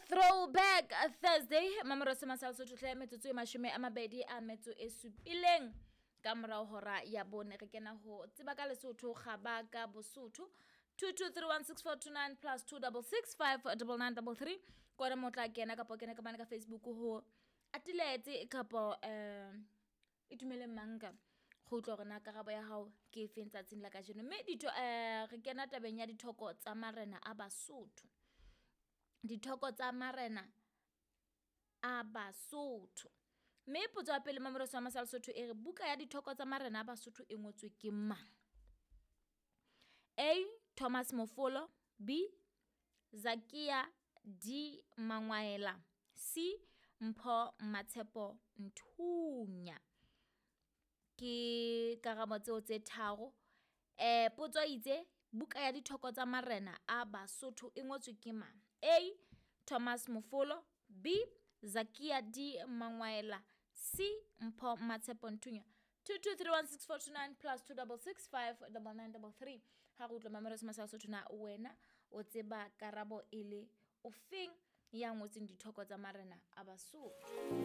Throwback Thursday, mamoro se masal Sotho hle, metsotso e 27 ka morao hora ya 4, re kena ho tseba ka Lesotho, kgaba ka Bosotho. 22316429 plus 26659933 kona mo tla kena, kapa o kena ka mane ka Facebook ho Atiletse kapa Itumeleng Manka, go utlwa hore na karabo ya hao ke efeng tsatsing la kajeno. Mme ditho re kena tabeng ya dithoko tsa marena a Basotho. Dithoko tsa marena a Basotho. Mme potso ya pele, Mamelosi wa Masala Sotho, e re buka ya dithoko tsa marena a Basotho e ngotswe ke mang? A. Thomas Mofolo, B. Zakia D. Mangwaela, C. Mpho Matshepo Nthunya. Ke karabo tseo tse tharo. Potso itse buka ya dithoko tsa marena a Basotho e ngotswe ke mang? A. Thomas Mofolo, B. Zakia D. Mangwaela, C. Mpho Matshepo Nthunya. 22316429 plus 26659933. Ha re utlwa, Mamelosi Masala Sotho, na wena o tseba karabo e le ofeng ya ngotseng dithoko tsa marena a Basotho?